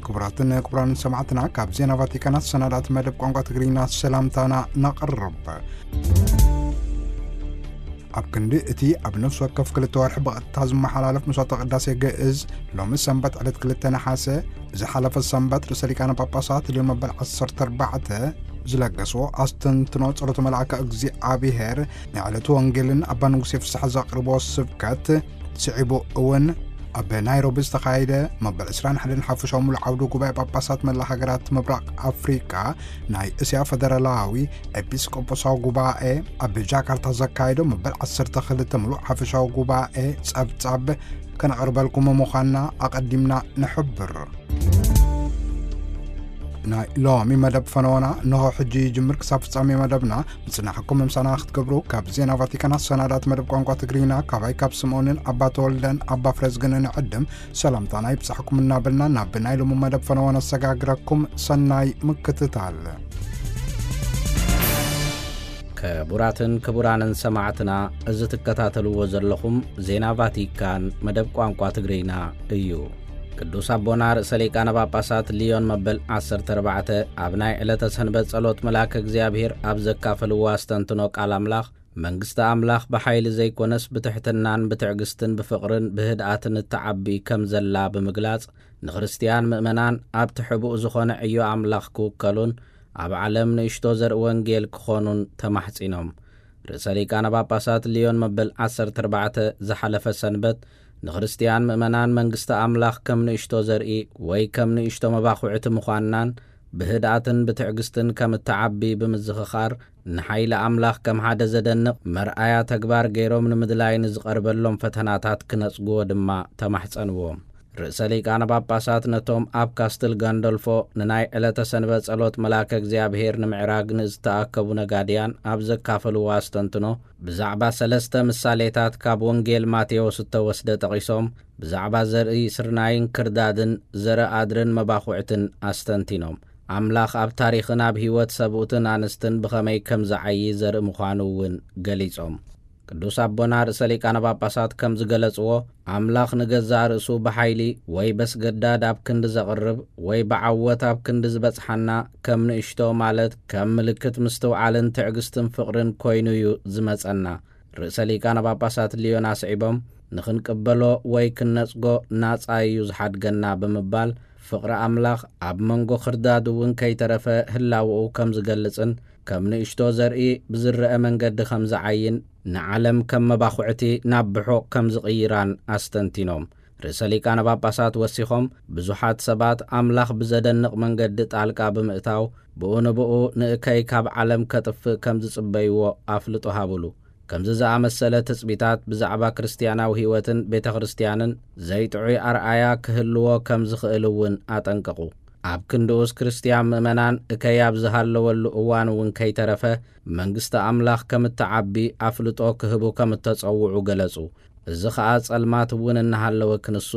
ክቡራትን ክቡራንን ሰማዕትና፣ ካብ ዜና ቫቲካን ኣሰናዳእቲ መደብ ቋንቋ ትግርኛ ሰላምታና ነቕርብ። ኣብ ክንዲ እቲ ኣብ ነፍሲ ወከፍ ክልተ ወርሒ ብቐጥታ ዝመሓላለፍ መስዋዕተ ቅዳሴ ግእዝ፣ ሎሚ ሰንበት ዕለት ክልተ ነሓሰ፣ ዝሓለፈ ሰንበት ርእሰ ሊቃነ ጳጳሳት ልዮን መበል ዓሰርተ ኣርባዕተ ዝለገስዎ ኣስተንትኖ ጸሎተ መልኣከ እግዚኣብሔር፣ ንዕለቱ ወንጌልን ኣባ ንጉሴ ፍስሐ ዘቕርቦ ስብከት፣ ስዒቡ እውን ኣብ ናይሮቢ ዝተኻየደ መበል ዕስራን ሓደን ሓፈሻዊ ሙሉእ ዓውዲ ጉባኤ ጳጳሳት መላ ሃገራት ምብራቕ ኣፍሪቃ፣ ናይ እስያ ፈደራላዊ ኤጲስቆጶሳዊ ጉባኤ፣ ኣብ ጃካርታ ዘካየዶ መበል ዓሰርተ ክልተ ሙሉእ ሓፈሻዊ ጉባኤ ጸብጻብ ከነቕርበልኩም ምዃንና ኣቐዲምና ንሕብር። ናይ ሎሚ መደብ ፈነወና እንሆ ሕጂ ይጅምር። ክሳብ ፍጻሜ መደብና ምጽናሕኩም ምሳና ክትገብሩ ካብ ዜና ቫቲካን ኣሰናዳእቲ መደብ ቋንቋ ትግርኛ ካባይ ካብ ስምኦንን ኣባ ተወልደን ኣባ ፍረዝግንን ዕድም ሰላምታና ይብጻሕኩም እናበልና፣ ናብ ናይ ሎሚ መደብ ፈነወ ነሰጋግረኩም። ሰናይ ምክትታል። ክቡራትን ክቡራንን ሰማዕትና፣ እዚ ትከታተልዎ ዘለኹም ዜና ቫቲካን መደብ ቋንቋ ትግርኛ እዩ። ቅዱስ ኣቦና ርእሰ ሊቃነ ጳጳሳት ሊዮን መበል ዓሰርተ ኣርባዕተ ኣብ ናይ ዕለተ ሰንበት ጸሎት መልኣከ እግዚኣብሔር ኣብ ዘካፈልዎ ኣስተንትኖ ቃል ኣምላኽ፣ መንግስቲ ኣምላኽ ብሓይሊ ዘይኮነስ ብትሕትናን ብትዕግስትን ብፍቕርን ብህድኣትን እትዓቢ ከም ዘላ ብምግላጽ፣ ንክርስትያን ምእመናን ኣብቲ ሕቡእ ዝኾነ ዕዮ ኣምላኽ ክውከሉን ኣብ ዓለም ንእሽቶ ዘርኢ ወንጌል ክኾኑን ተማሕጺኖም። ርእሰ ሊቃነ ጳጳሳት ሊዮን መበል ዓሰርተ ኣርባዕተ ዝሓለፈ ሰንበት ንክርስትያን ምእመናን መንግስቲ ኣምላኽ ከም ንእሽቶ ዘርኢ ወይ ከም ንእሽቶ መባኹዕቲ ምዃንናን ብህድኣትን ብትዕግስትን ከም እትዓቢ ብምዝኽኻር፣ ንሓይሊ ኣምላኽ ከም ሓደ ዘደንቕ መርኣያ ተግባር ገይሮም ንምድላይ ንዝቐርበሎም ፈተናታት ክነጽግዎ ድማ ተማሕጸንዎም። ርእሰ ሊቃነ ጳጳሳት ነቶም ኣብ ካስትል ጋንዶልፎ ንናይ ዕለተ ሰንበት ጸሎት መልኣከ እግዚኣብሔር ንምዕራግ ንዝተኣከቡ ነጋድያን ኣብ ዘካፈልዎ ኣስተንትኖ፣ ብዛዕባ ሰለስተ ምሳሌታት ካብ ወንጌል ማቴዎስ እተወስደ ጠቒሶም፣ ብዛዕባ ዘርኢ ስርናይን ክርዳድን፣ ዘርኢ ኣድርን መባኹዕትን ኣስተንቲኖም። ኣምላኽ ኣብ ታሪኽን ኣብ ህይወት ሰብኡትን ኣንስትን ብኸመይ ከም ዝዓዪ ዘርኢ ምዃኑ እውን ገሊጾም። ቅዱስ ኣቦና ርእሰ ሊቃነ ጳጳሳት ከም ዝገለጽዎ፣ ኣምላኽ ንገዛእ ርእሱ ብሓይሊ ወይ በስገዳድ ኣብ ክንዲ ዘቕርብ ወይ ብዓወት ኣብ ክንዲ ዝበጽሓና፣ ከም ንእሽቶ፣ ማለት ከም ምልክት ምስትውዓልን ትዕግስትን ፍቕርን ኮይኑ እዩ ዝመጸና። ርእሰ ሊቃነ ጳጳሳት ሊዮን ኣስዒቦም፣ ንኽንቅበሎ ወይ ክንነጽጎ ናጻ እዩ ዝሓድገና ብምባል፣ ፍቕሪ ኣምላኽ ኣብ መንጎ ክርዳድ እውን ከይተረፈ ህላወኡ ከም ዝገልጽን፣ ከም ንእሽቶ ዘርኢ ብዝረአ መንገዲ ከም ዝዓይን፣ ንዓለም ከም መባኹዕቲ ናብ ብሑቕ ከም ዝቕይራን ኣስተንቲኖም። ርእሰ ሊቃነ ጳጳሳት ወሲኾም፣ ብዙሓት ሰባት ኣምላኽ ብዘደንቕ መንገዲ ጣልቃ ብምእታው፣ ብኡ ንብኡ ንእከይ ካብ ዓለም ከጥፍእ ከም ዝጽበይዎ ኣፍልጦ ሃቡሉ። ከምዚ ዝኣመሰለ ትጽቢታት ብዛዕባ ክርስትያናዊ ህይወትን ቤተ ክርስትያንን ዘይጥዑይ ኣርኣያ ክህልዎ ከም ዝኽእል እውን ኣጠንቀቑ። ኣብ ክንድኡስ ክርስትያን ምእመናን እከይ ኣብ ዝሃለወሉ እዋን እውን ከይተረፈ መንግስቲ ኣምላኽ ከም እትዓቢ ኣፍልጦ ክህቡ ከም እተጸውዑ ገለጹ። እዚ ኸኣ ጸልማት እውን እናሃለወ ክንሱ፣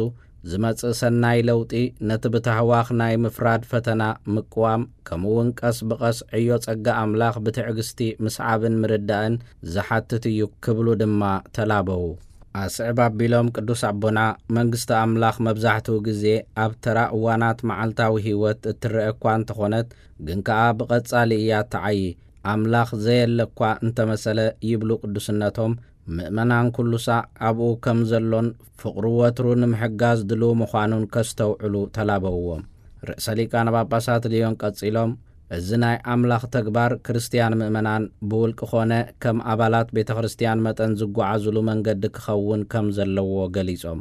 ዝመጽእ ሰናይ ለውጢ ነቲ ብታህዋኽ ናይ ምፍራድ ፈተና ምቅዋም፣ ከምኡውን ቀስ ብቐስ ዕዮ ጸጋ ኣምላኽ ብትዕግስቲ ምስዓብን ምርዳእን ዝሓትት እዩ ክብሉ ድማ ተላበዉ። ኣስዕብ ኣቢሎም ቅዱስ ኣቦና፣ መንግስቲ ኣምላኽ መብዛሕትኡ ግዜ ኣብ ተራ እዋናት መዓልታዊ ህይወት እትረአ እኳ እንተኾነት፣ ግን ከኣ ብቐጻሊ እያ እትዓዪ። ኣምላኽ ዘየለ እኳ እንተመሰለ፣ ይብሉ ቅዱስነቶም፣ ምእመናን ኩሉ ሳዕ ኣብኡ ከም ዘሎን ፍቕሩ ወትሩ ንምሕጋዝ ድሉው ምዃኑን ከስተውዕሉ ተላበውዎም። ርእሰ ሊቃነ ጳጳሳት ልዮን ቀጺሎም፣ እዚ ናይ ኣምላኽ ተግባር ክርስትያን ምእመናን ብውልቂ ኾነ ከም ኣባላት ቤተ ክርስትያን መጠን ዝጓዓዙሉ መንገዲ ክኸውን ከም ዘለዎ ገሊጾም፣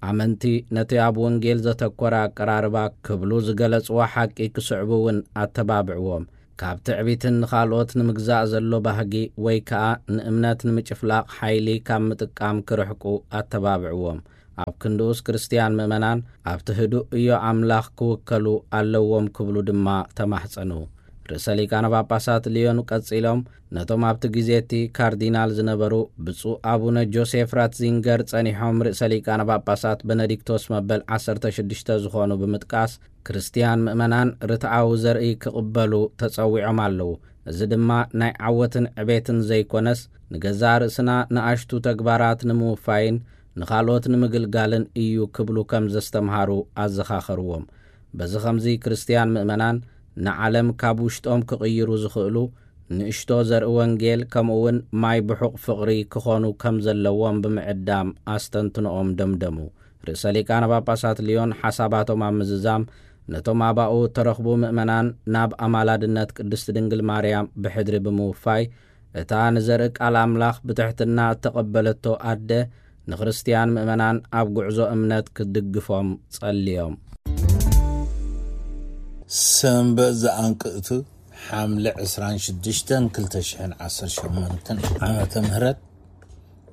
ኣመንቲ ነቲ ኣብ ወንጌል ዘተኮረ ኣቀራርባ ክብሉ ዝገለጽዎ ሓቂ ክስዕቡ እውን ኣተባብዕዎም። ካብ ትዕቢትን ንኻልኦት ንምግዛእ ዘሎ ባህጊ ወይ ከኣ ንእምነት ንምጭፍላቕ ሓይሊ ካብ ምጥቃም ክርሕቁ ኣተባብዕዎም። ኣብ ክንድኡስ ክርስትያን ምእመናን ኣብቲ ህዱእ እዮ ኣምላኽ ክውከሉ ኣለዎም ክብሉ ድማ ተማሕጸኑ። ርእሰ ሊቃነ ጳጳሳት ልዮን ቀጺሎም ነቶም ኣብቲ ግዜ እቲ ካርዲናል ዝነበሩ ብፁዕ ኣቡነ ጆሴፍ ራትዚንገር ጸኒሖም ርእሰ ሊቃነ ጳጳሳት በነዲክቶስ መበል ዓሰርተ ሽዱሽተ ዝኾኑ ብምጥቃስ፣ ክርስትያን ምእመናን ርትዓዊ ዘርኢ ክቕበሉ ተጸዊዖም ኣለዉ። እዚ ድማ ናይ ዓወትን ዕቤትን ዘይኮነስ፣ ንገዛእ ርእስና ንኣሽቱ ተግባራት ንምውፋይን ንኻልኦት ንምግልጋልን እዩ ክብሉ ከም ዘስተምሃሩ ኣዘኻኸርዎም። በዚ ኸምዚ ክርስትያን ምእመናን ንዓለም ካብ ውሽጦም ክቕይሩ ዝኽእሉ ንእሽቶ ዘርኢ ወንጌል ከምኡ እውን ማይ ብሑቕ ፍቕሪ ክኾኑ ከም ዘለዎም ብምዕዳም ኣስተንትኖኦም ደምደሙ። ርእሰ ሊቃነ ጳጳሳት ልዮን ሓሳባቶም ኣብ ምዝዛም ነቶም ኣባኡ እተረኽቡ ምእመናን ናብ ኣማላድነት ቅድስቲ ድንግል ማርያም ብሕድሪ ብምውፋይ እታ ንዘርኢ ቃል ኣምላኽ ብትሕትና እተቐበለቶ ኣደ ንክርስትያን ምእመናን ኣብ ጉዕዞ እምነት ክትድግፎም ጸልዮም። ሰንበት ዘኣንቅእቱ ሓምለ ዕስራን ሽዱሽተን ክልተ ሽሕን ዓሰርተ ሸሞንተን ዓመተ ምህረት።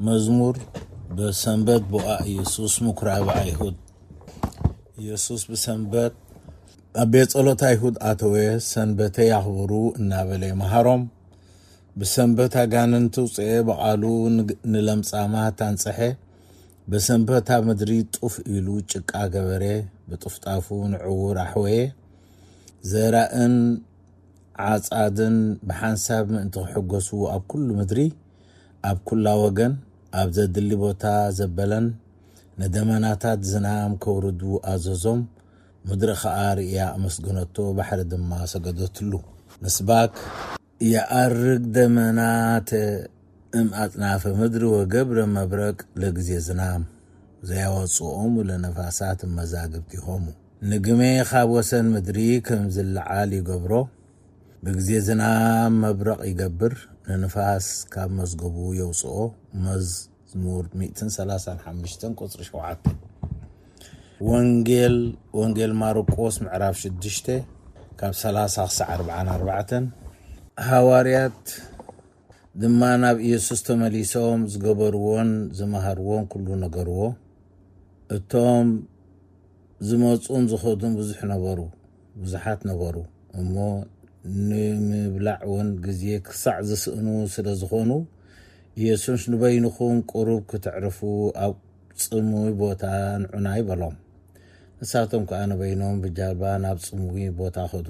መዝሙር ብሰንበት ቦኣ ኢየሱስ ምኩራብ ኣይሁድ። ኢየሱስ ብሰንበት ኣብ ቤት ጸሎት ኣይሁድ ኣተወ፣ ሰንበተይ ኣኽብሩ እናበለ ይመሃሮም። ብሰንበት ኣጋንንቲ ውፅኤ፣ ብቓሉ ንግ-፣ ንለምጻማት ኣንጽሐ። ብሰንበት ኣብ ምድሪ ጡፍ ኢሉ ጭቃ ገበረ፣ ብጥፍጣፉ ንዕውር ኣሕወየ። ዘራእን ዓጻድን ብሓንሳብ ምእንቲ ክሕጎሱ ኣብ ኩሉ ምድሪ፣ ኣብ ኩላ ወገን፣ ኣብ ዘድሊ ቦታ ዘበለን ንደመናታት ዝናም ከውርዱ ኣዘዞም። ምድሪ ኸኣ ርእያ ኣመስገነቶ፣ ባሕሪ ድማ ሰገደትሉ። ምስባክ። የኣርግ ደመናተ እም ኣጽናፈ ምድሪ ወገብረ መብረቅ ለግዜ ዝናም፣ ዘያወጽኦሙ ለነፋሳት እመዛግብቲሆሙ። ንግሜ ካብ ወሰን ምድሪ ከም ዝለዓል ይገብሮ፣ ብግዜ ዝናም መብረቕ ይገብር፣ ንንፋስ ካብ መዝገቡ የውጽኦ። መዝሙር ሚእትን ሰላሳን ሓሙሽተን ቁጽሪ ሸውዓተ። ወንጌል፣ ወንጌል ማርቆስ ምዕራፍ ሽዱሽተ ካብ ሰላሳ ክሳዕ ኣርብዓን ኣርባዕተን። ሃዋርያት ድማ ናብ ኢየሱስ ተመሊሶም ዝገበርዎን ዝመሃርዎን ኩሉ ነገርዎ። እቶም ዝመጹን ዝኸዱን ብዙሕ ነበሩ፣ ብዙሓት ነበሩ። እሞ ንምብላዕ እውን ግዜ ክሳዕ ዝስእኑ ስለ ዝኾኑ፣ ኢየሱስ፣ "ንበይንኹም ቁሩብ ክትዕርፉ ኣብ ጽምዊ ቦታ ንዑናይ" በሎም። ንሳቶም ከኣ ንበይኖም ብጃልባ ናብ ጽምዊ ቦታ ኸዱ።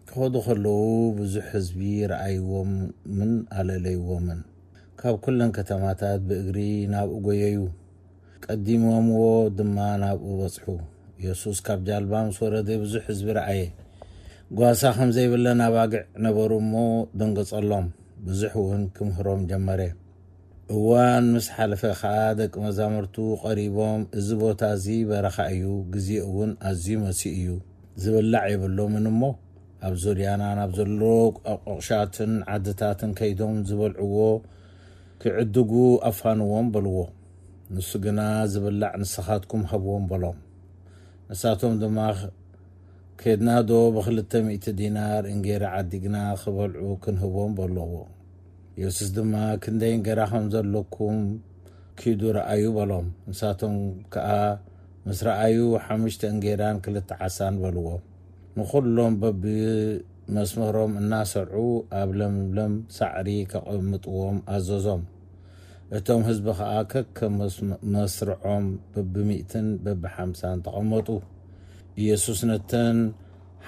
ክኸዱ ኸለዉ ብዙሕ ህዝቢ ረኣይዎምን ኣለለይዎምን። ካብ ኩለን ከተማታት ብእግሪ ናብኡ ጐየዩ። ቀዲሞምዎ ድማ ናብኡ በጽሑ። የሱስ ካብ ጃልባ ምስ ወረደ ብዙሕ ህዝቢ ረኣየ። ጓሳ ከም ዘይብለን ኣባግዕ ነበሩ እሞ ደንገጸሎም። ብዙሕ እውን ክምህሮም ጀመረ። እዋን ምስ ሓለፈ ኸኣ ደቂ መዛሙርቱ ቀሪቦም፣ "እዚ ቦታ እዚ በረኻ እዩ፣ ግዜኡ እውን ኣዝዩ መሲኡ እዩ። ዝብላዕ የብሎምን እሞ ኣብ ዙርያና ናብ ዘሎ ኣቆቕሻትን ዓድታትን ከይዶም ዝበልዕዎ ክዕድጉ ኣፋንዎም" በልዎ። ንሱ ግና፣ "ዝብላዕ ንስኻትኩም ሃብዎም" በሎም። ንሳቶም ድማ፣ "ኬድናዶ ብኽልተ ሚእቲ ዲናር እንጌራ ዓዲግና ክበልዑ ክንህቦም?" በልዎ። የሱስ ድማ፣ "ክንደይ እንጌራ ከም ዘለኩም ኪዱ ረኣዩ" በሎም። ንሳቶም ከኣ ምስ ረኣዩ፣ "ሓሙሽተ እንጌራን ክልተ ዓሳን" በልዎ። ንኹሎም በብመስመሮም እናሰርዑ ኣብ ለምለም ሳዕሪ ከቐምጥዎም ኣዘዞም። እቶም ህዝቢ ኸኣ ከከም መስ-፣ መስርዖም በብሚእትን በብሓምሳን ተቐመጡ። ኢየሱስ ነተን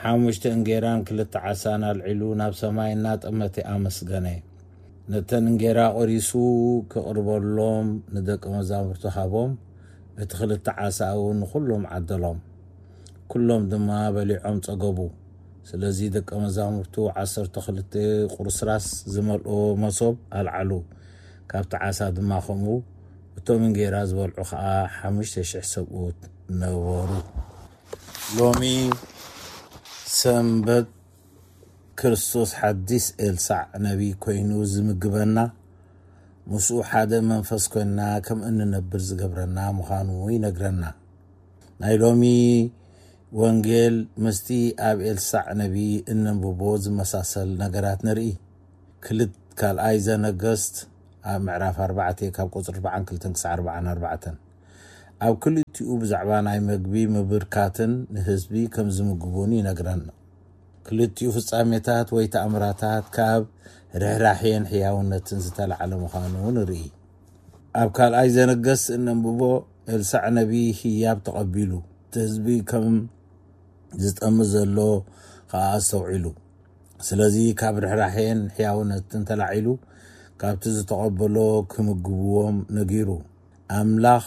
ሓሙሽተ እንጌራን ክልተ ዓሳን ኣልዒሉ ናብ ሰማይ እናጠመተ ኣመስገነ። ነተን እንጌራ ቖሪሱ ክቕርበሎም ንደቂ መዛሙርቱ ሃቦም። እቲ ክልተ ዓሳ እውን ንኹሎም ዓደሎም። ኩሎም ድማ በሊዖም ጸገቡ። ስለዚ ደቀ መዛሙርቱ ዓሰርተ ክልተ ቁርስራስ ዝመልኦ መሶብ ኣልዓሉ። ካብቲ ዓሳ ድማ ከምኡ። እቶም እንጌራ ዝበልዑ ኸኣ ሓሙሽተ ሽሕ ሰብኡት ነበሩ። ሎሚ ሰንበት ክርስቶስ ሓዲስ ኤልሳዕ ነቢይ ኮይኑ ዝምግበና፣ ምስኡ ሓደ መንፈስ ኮይንና ከም እንነብር ዝገብረና ምዃኑ ይነግረና። ናይ ሎሚ ወንጌል ምስቲ ኣብ ኤልሳዕ ነቢይ እነንብቦ ዝመሳሰል ነገራት ንርኢ። ክልት-፣ ካልኣይ ዘነገስት ኣብ ምዕራፍ ኣርባዕተ ካብ ቁጽሪ ኣርባዓን ክልተን ክሳዕ ኣርባዓን ኣርባዕተን። ኣብ ክልቲኡ ብዛዕባ ናይ መግቢ ምብርካትን ንህዝቢ ከም ዝምግቡን ይነግረና። ክልቲኡ ፍጻሜታት ወይ ተኣምራታት ካብ ርሕራሕየን ሕያውነትን ዝተላዕለ ምዃኑ ንርኢ። ኣብ ካልኣይ ዘነገስት እነንብቦ፣ ኤልሳዕ ነቢይ ህያብ ተቐቢሉ፣ እቲ ህዝቢ ከም ዝጠሚ ዘሎ ኸኣ ኣስተውዒሉ። ስለዚ ካብ ርሕራሕየን ሕያውነትን ተላዒሉ፣ ካብቲ ዝተቐበሎ ክምግብዎም ነጊሩ። ኣምላኽ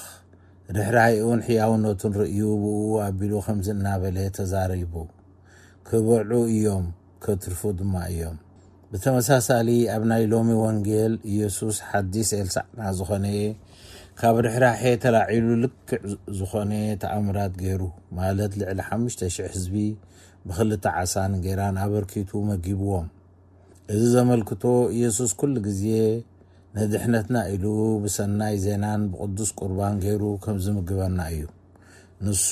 ርሕራሒኡን ሕያውነቱን ርእዩ ብኡ ኣቢሉ ከምዚ እናበለ ተዛሪቡ፣ ክበልዑ እዮም፣ ከትርፉ ድማ እዮም። ብተመሳሳሊ ኣብ ናይ ሎሚ ወንጌል ኢየሱስ ሓዲስ ኤልሳዕና ዝኾነ ካብ ርሕራሐ ተላዒሉ ልክዕ ዝኾነ ተኣምራት ገይሩ፣ ማለት ልዕሊ ሓሙሽተ ሽሕ ህዝቢ ብኽልተ ዓሳን እንጌራን ኣበርኪቱ መጊብዎም። እዚ ዘመልክቶ ኢየሱስ ኩሉ ግዜ ንድሕነትና ኢሉ ብሰናይ ዜናን ብቅዱስ ቁርባን ገይሩ ከም ዝምግበና እዩ። ንሱ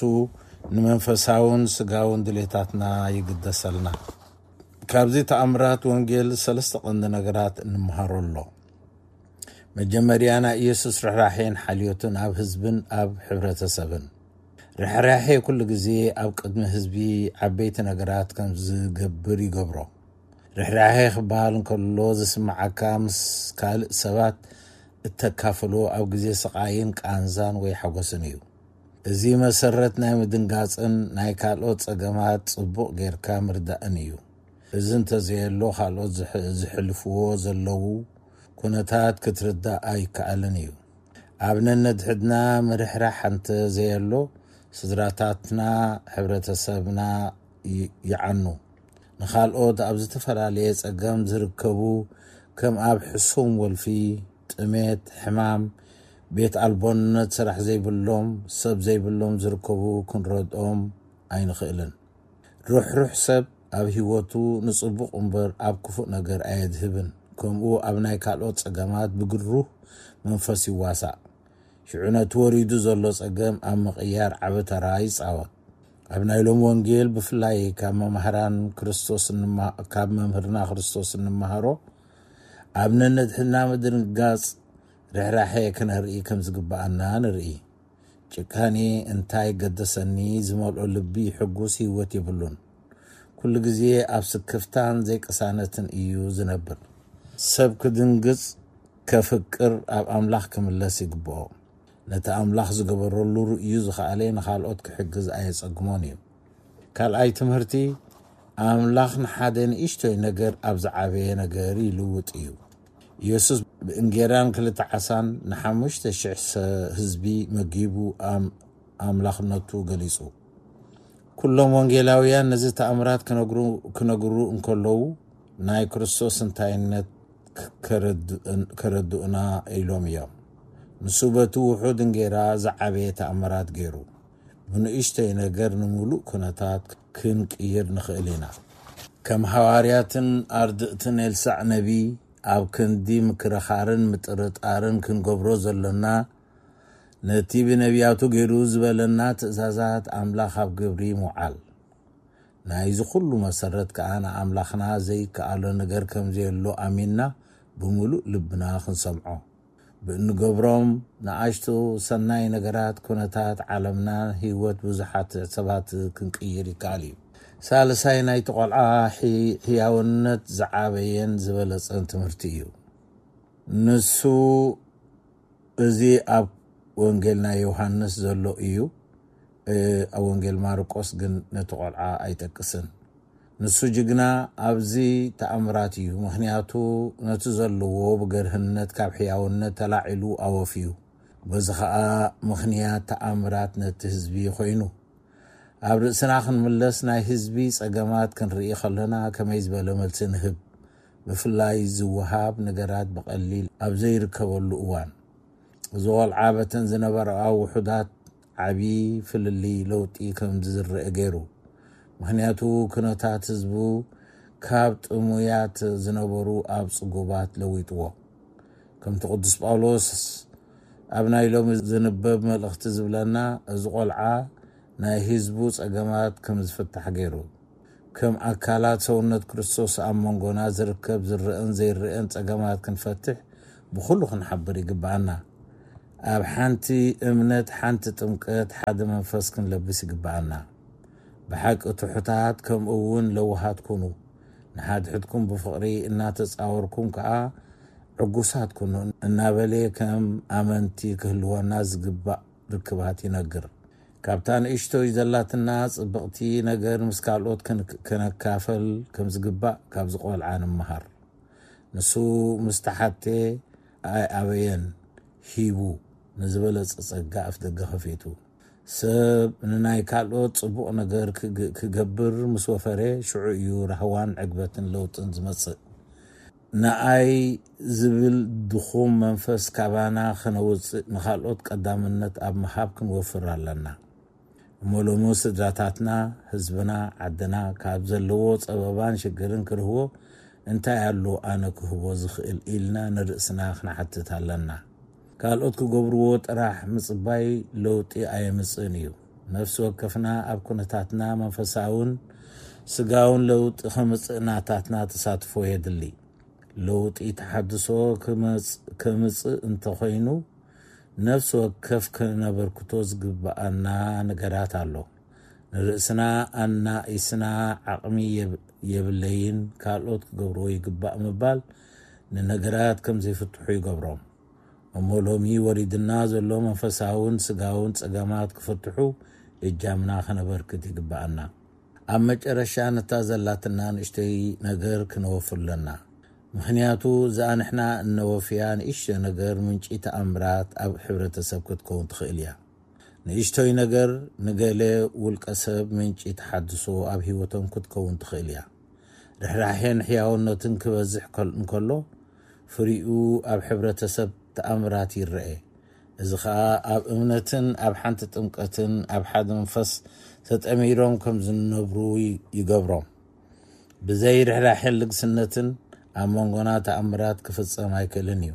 ንመንፈሳውን ስጋውን ድሌታትና ይግደሰልና። ካብዚ ተኣምራት ወንጌል ሰለስተ ቀንዲ ነገራት እንምሃሮ ኣሎ። መጀመርያ ናይ ኢየሱስ ርሕራሄን ሓልዮትን ኣብ ህዝብን ኣብ ሕብረተሰብን። ርሕራሄ ኩሉ ግዜ ኣብ ቅድሚ ህዝቢ ዓበይቲ ነገራት ከም ዝገብር ይገብሮ። ርሕራሄ ክበሃል እንከሎ ዝስምዓካ ምስ ካልእ ሰባት እተካፍሎ ኣብ ግዜ ስቓይን ቃንዛን ወይ ሓጎስን እዩ። እዚ መሰረት ናይ ምድንጋጽን ናይ ካልኦት ጸገማት ጽቡቕ ጌርካ ምርዳእን እዩ። እዚ እንተዘየሎ ካልኦት ዝሕ- ዝሕልፍዎ ዘለዉ ኩነታት ክትርዳእ ኣይከኣልን እዩ። ኣብ ነነድሕድና ምርሕራሕ እንተዘየሎ ስድራታትና፣ ሕብረተሰብና ይ- ይዓኑ። ንኻልኦት ኣብ ዝተፈላለየ ጸገም ዝርከቡ ከም ኣብ ሕሱም ወልፊ፣ ጥሜት፣ ሕማም፣ ቤት ኣልቦነት፣ ስራሕ ዘይብሎም፣ ሰብ ዘይብሎም ዝርከቡ ክንረድኦም ኣይንኽእልን። ርሕሩሕ ሰብ ኣብ ህይወቱ ንጽቡቕ እምበር ኣብ ክፉእ ነገር ኣየድህብን። ከምኡ ኣብ ናይ ካልኦት ጸገማት ብግሩህ መንፈስ ይዋሳእ። ሽዑ ነቲ ወሪዱ ዘሎ ጸገም ኣብ ምቕያር ዓቢ ተራ ይጻወት። ኣብ ናይ ሎም ወንጌል ብፍላይ ካብ መማህራን ክርስቶስ እንማ- ካብ መምህርና ክርስቶስ እንመሃሮ ኣብ ነነድሕና ምድንጋጽ ርሕራሐ ክነርኢ ከም ዝግብኣና ንርኢ። ጭካኔ እንታይ ገደሰኒ ዝመልኦ ልቢ ሕጉስ ህይወት የብሉን። ኩሉ ግዜ ኣብ ስክፍታን ዘይቅሳነትን እዩ ዝነብር። ሰብ ክድንግጽ ከፍቅር ኣብ ኣምላኽ ክምለስ ይግብኦ። ነቲ ኣምላኽ ዝገበረሉ ርእዩ ዝኸኣለ ንኻልኦት ክሕግዝ ኣየጸግሞን እዩ። ካልኣይ ትምህርቲ፣ ኣምላኽ ንሓደ ንእሽቶይ ነገር ኣብ ዝዓበየ ነገር ይልውጥ እዩ። ኢየሱስ ብእንጌራን ክልተ ዓሳን ንሓሙሽተ ሽሕ ሰ- ህዝቢ መጊቡ ኣም- ኣምላኽነቱ ገሊጹ። ኩሎም ወንጌላውያን ነዚ ተኣምራት ክነግሩ ክነግሩ እንከለዉ ናይ ክርስቶስ እንታይነት ከረድኡና ኢሎም እዮም። ንሱ በቲ ውሑድ እንጌራ ዝዓበየ ተኣምራት ገይሩ። ብንእሽተይ ነገር ንምሉእ ኩነታት ክንቅይር ንኽእል ኢና። ከም ሃዋርያትን ኣርድእትን ኤልሳዕ ነቢ ኣብ ክንዲ ምክርኻርን ምጥርጣርን ክንገብሮ ዘሎና፣ ነቲ ብነቢያቱ ገይሩ ዝበለና ትእዛዛት ኣምላኽ ኣብ ግብሪ ምውዓል። ናይዚ ኩሉ መሰረት ከኣ ንኣምላኽና ዘይከኣሎ ነገር ከም ዘየሎ ኣሚንና ብምሉእ ልብና ክንሰምዖ። ብእንገብሮም ንኣሽቱ ሰናይ ነገራት ኩነታት ዓለምናን ህይወት ብዙሓት ሰባት ክንቅይር ይከኣል እዩ። ሳልሳይ ናይቲ ቆልዓ ሕያውነት ዝዓበየን ዝበለጸን ትምህርቲ እዩ። ንሱ እዚ ኣብ ወንጌል ናይ ዮሃንስ ዘሎ እዩ። ኣብ ወንጌል ማርቆስ ግን ነቲ ቆልዓ ኣይጠቅስን። ንሱ ጅግና ኣብዚ ተኣምራት እዩ፣ ምኽንያቱ ነቲ ዘለዎ ብገርህነት ካብ ሕያውነት ተላዒሉ ኣወፍዩ። በዚ ኸኣ ምኽንያት ተኣምራት ነቲ ህዝቢ ኮይኑ። ኣብ ርእስና ክንምለስ ናይ ህዝቢ ጸገማት ክንርኢ ከለና ከመይ ዝበለ መልሲ ንህብ? ብፍላይ ዝወሃብ ነገራት ብቐሊል ኣብ ዘይርከበሉ እዋን። እዚ ቆልዓ በተን ዝነበራኣ ውሑዳት ዓቢ ፍልልይ ለውጢ ከም ዝረአ ገይሩ። ምኽንያቱ ኩነታት ህዝቡ ካብ ጥሙያት ዝነበሩ ኣብ ጽጉባት ለዊጥዎ። ከምቲ ቅዱስ ጳውሎስ ኣብ ናይ ሎሚ ዝንበብ መልእኽቲ ዝብለና፣ እዚ ቆልዓ ናይ ህዝቡ ጸገማት ከም ዝፍታሕ ገይሩ። ከም ኣካላት ሰውነት ክርስቶስ ኣብ መንጎና ዝርከብ ዝረአን ዘይረአን ጸገማት ክንፈትሕ ብኹሉ ክንሓብር ይግብኣና። ኣብ ሓንቲ እምነት፣ ሓንቲ ጥምቀት፣ ሓደ መንፈስ ክንለብስ ይግብኣና። ብሓቂ ትሑታት ከምኡ እውን ለዋሃት ኩኑ። ንሓድሕድኩም ብፍቕሪ እናተጻወርኩም ከኣ ዕጉሳት ኩኑ እናበለ ከም ኣመንቲ ክህልወና ዝግባእ ርክባት ይነግር። ካብታ ንእሽቶይ ዘላትና ጽብቕቲ ነገር ምስ ካልኦት ከነካፈል ከም ዝግባእ ካብዚ ቆልዓ ንምሃር። ንሱ ምስ ተሓቴ ኣይኣበየን፣ ሂቡ። ንዝበለጸ ጸጋ ኣፍደገ ከፊቱ። ሰብ ንናይ ካልኦት ጽቡቕ ነገር ክግ-፣ ክገብር ምስ ወፈረ፣ ሽዑ እዩ ራህዋን ዕግበትን ለውጥን ዝመጽእ። ንኣይ ዝብል ድኹም መንፈስ ካባና ከነውጽእ፣ ንኻልኦት ቀዳምነት ኣብ ምሃብ ክንወፍር ኣለና። እሞ ሎሚ ስድራታትና፣ ህዝብና፣ ዓድና ካብ ዘለዎ ጸበባን ሽግርን ክርህዎ እንታይ ኣሎ ኣነ ክህቦ ዝኽእል ኢልና ንርእስና ክንሓትት ኣለና። ካልኦት ክገብርዎ ጥራሕ ምጽባይ ለውጢ ኣየምጽእን እዩ። ነፍሲ ወከፍና ኣብ ኩነታትና መንፈሳውን ስጋውን ለውጢ ከምጽእ ናታትና ተሳትፎ የድሊ። ለውጢ ተሓድሶ ክመጽ-፣ ከምጽእ እንተኾይኑ፣ ነፍሲ ወከፍ ከነበርክቶ ዝግብኣና ነገራት ኣሎ። ንርእስና ኣናኢስና ዓቕሚ የብ-፣ የብለይን፣ ካልኦት ክገብርዎ ይግባእ ምባል ንነገራት ከም ዘይፍትሑ ይገብሮም። እሞ ሎሚ ወሪድና ዘሎ መንፈሳውን ስጋውን ጸገማት ክፍትሑ እጃምና ከነበርክት ይግባኣና። ኣብ መጨረሻ ነታ ዘላትና ንእሽተይ ነገር ክነወፍር ኣለና። ምኽንያቱ እዛ ንሕና እነወፍያ ንእሽቶ ነገር ምንጪ ተኣምራት ኣብ ሕብረተሰብ ክትከውን ትኽእል እያ። ንእሽቶይ ነገር ንገለ ውልቀ ሰብ ምንጪ ተሓድሶ ኣብ ህይወቶም ክትከውን ትኽእል እያ። ርሕራሔን ሕያውነትን ክበዝሕ ከል-፣ እንከሎ ፍሪኡ ኣብ ሕብረተሰብ ተኣምራት ይረኤ። እዚ ኸኣ ኣብ እምነትን ኣብ ሓንቲ ጥምቀትን ኣብ ሓደ መንፈስ ተጠሚሮም ከም ዝነብሩ ይ-፣ ይገብሮም። ብዘይ ርሕራሔን ልግስነትን ኣብ መንጎና ተኣምራት ክፍጸም ኣይክእልን እዩ።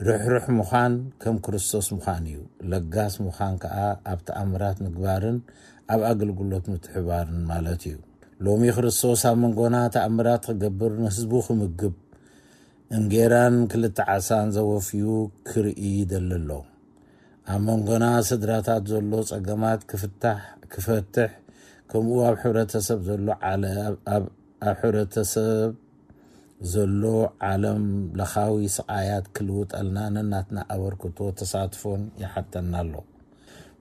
ርሕሩሕ ምዃን ከም ክርስቶስ ምዃን እዩ። ለጋስ ምዃን ከኣ ኣብ ተኣምራት ምግባርን ኣብ ኣገልግሎት ምትሕባርን ማለት እዩ። ሎሚ ክርስቶስ ኣብ መንጎና ተኣምራት ክገብር ንህዝቡ ክምግብ እንጌራን ክልተ ዓሳን ዘወፍዩ ክርኢ ይደሊ ኣሎ። ኣብ መንጎና ስድራታት ዘሎ ጸገማት ክፍታሕ፣ ክፈትሕ፣ ከምኡ ኣብ ሕብረተሰብ ዘሎ ዓለ-፣ ኣብ፣ ኣብ፣ ኣብ ሕብረተሰብ ዘሎ ዓለም ለኻዊ ስቓያት ክልውጠልና ነናትና ኣበርክቶ ተሳትፎን ይሓተና ኣሎ።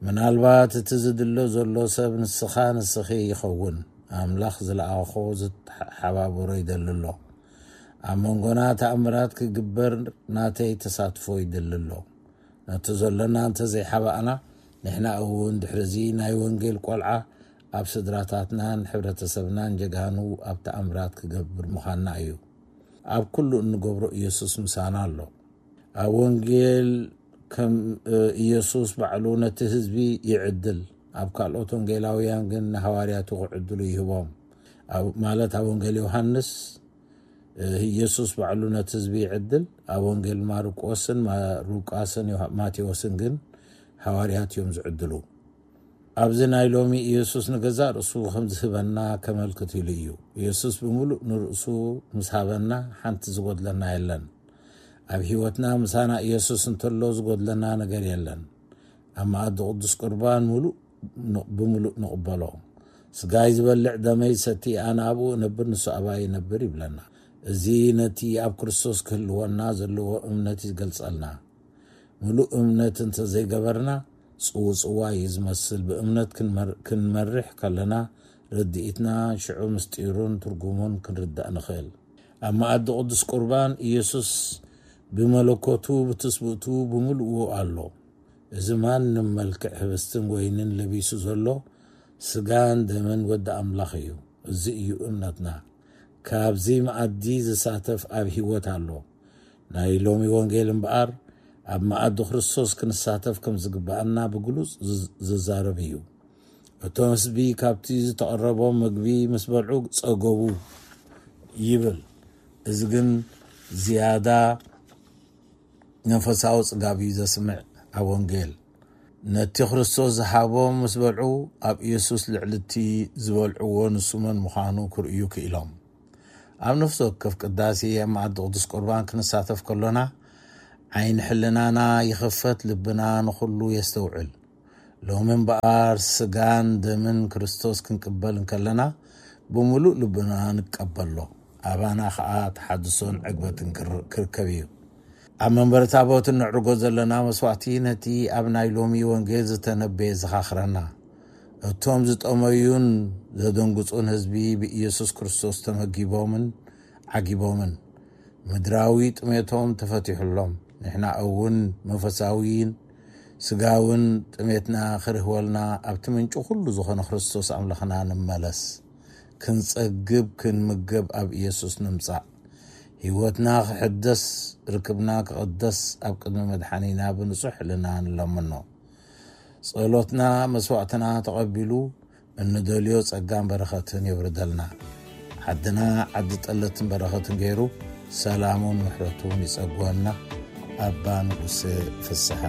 ምናልባት እቲ ዝድሎ ዘሎ ሰብ ንስኻ ንስኺ ይኸውን። ኣምላኽ ዝለኣኾ ዝተሓባበሮ ይደሊ ኣሎ። ኣብ መንጎና ተኣምራት ክግበር ናተይ ተሳትፎ ይደሊ ኣሎ። ነቲ ዘሎና እንተዘይሓባእና፣ ንሕና እውን ድሕርዚ ናይ ወንጌል ቆልዓ ኣብ ስድራታትናን ሕብረተሰብናን ጀጋኑ ኣብ ተኣምራት ክገብር ምዃንና እዩ። ኣብ ኩሉ እንገብሮ ኢየሱስ ምሳና ኣሎ። ኣብ ወንጌል ከም፣ እ፣ ኢየሱስ ባዕሉ ነቲ ህዝቢ ይዕድል። ኣብ ካልኦት ወንጌላውያን ግን ንሃዋርያቱ ክዕድሉ ይህቦም። ኣብ፣ ማለት ኣብ ወንጌል ዮሃንስ፣ እ፣ ኢየሱስ ባዕሉ ነቲ ህዝቢ ይዕድል። ኣብ ወንጌል ማርቆስን ማ-፣ ሉቃስን ዮሃ-፣ ማቴዎስን ግን ሃዋርያት እዮም ዝዕድሉ። ኣብዚ ናይ ሎሚ ኢየሱስ ንገዛእ ርእሱ ከም ዝህበና ከመልክት ኢሉ እዩ። ኢየሱስ ብምሉእ ንርእሱ ምስ ሃበና ሓንቲ ዝጎድለና የለን። ኣብ ህይወትና ምሳና ኢየሱስ እንተሎ ዝጎድለና ነገር የለን። ኣብ መኣዲ ቅዱስ ቁርባን ምሉእ ን-፣ ብምሉእ ንቕበሎ። ስጋይ ዝበልዕ ደመይ ዝሰቲ ኣነ ኣብኡ እነብር ንሱ ኣባይ ይነብር ይብለና። እዚ ነቲ ኣብ ክርስቶስ ክህልወና ዘለዎ እምነት ይገልጸልና። ምሉእ እምነት እንተዘይገበርና ጽውጽዋይ እዩ ዝመስል። ብእምነት ክንመር-፣ ክንመርሕ ከለና ርድኢትና ሽዑ ምስጢሩን ትርጉሙን ክንርዳእ ንኽእል። ኣብ መኣዲ ቅዱስ ቁርባን ኢየሱስ ብመለኮቱ ብትስብእቱ ብምልእዎ ኣሎ። እዚ ማንም መልክዕ ህብስትን ወይንን ለቢሱ ዘሎ ስጋን ደምን ወዲ ኣምላኽ እዩ። እዚ እዩ እምነትና። ካብዚ መኣዲ ዝሳተፍ ኣብ ህይወት ኣሎ። ናይ ሎሚ ወንጌል እምበኣር ኣብ መኣዲ ክርስቶስ ክንሳተፍ ከም ዝግብኣና ብግሉጽ ዝዝ-፣ ዝዛረብ እዩ። እቶም ህዝቢ ካብቲ ዝተቐረቦም ምግቢ ምስ በልዑ ጸገቡ ይብል። እዚ ግን ዝያዳ መንፈሳዊ ጽጋብ እዩ ዘስምዕ። ኣብ ወንጌል ነቲ ክርስቶስ ዝሃቦም ምስ በልዑ ኣብ ኢየሱስ ልዕሊ እቲ ዝበልዕዎ ንሱ መን ምዃኑ ክርእዩ ክኢሎም። ኣብ ነፍሲ ወከፍ ቅዳሴ ኣብ መኣዲ ቅዱስ ቁርባን ክንሳተፍ ከሎና ዓይኒ ሕልናና ይኽፈት፣ ልብና ንኹሉ የስተውዕል። ሎሚ እምበኣር ስጋን ደምን ክርስቶስ ክንቅበል እንከለና ብምሉእ ልብና ንቀበሎ። ኣባና ኸኣ ተሓድሶን ዕግበትን ክር-፣ ክርከብ እዩ። ኣብ መንበረ ታቦት እነዕርጎ ዘለና መስዋዕቲ ነቲ ኣብ ናይ ሎሚ ወንጌል ዝተነበየ ዘኻኽረና። እቶም ዝጠመዩን ዘደንግጹን ህዝቢ ብኢየሱስ ክርስቶስ ተመጊቦምን ዓጊቦምን ምድራዊ ጥሜቶም ተፈቲሑሎም። ንሕና እውን መንፈሳዊን ስጋውን ጥሜትና ክርህወልና ኣብቲ ምንጪ ኩሉ ዝኾነ ክርስቶስ ኣምላኽና ንመለስ። ክንጸግብ ክንምገብ ኣብ ኢየሱስ ንምጻእ። ህይወትና ክሕደስ፣ ርክብና ክቕደስ ኣብ ቅድሚ መድሓኒና ብንጹሕ ሕልና ንለምኖ። ጸሎትና መስዋዕትና ተቐቢሉ እንደልዮ ጸጋን በረኸትን የውርደልና። ዓድና ዓዲ ጠለትን በረኸትን ገይሩ ሰላሙን ምሕረቱን ይጸግወና። ኣባ ንጉስ ፍስሓ።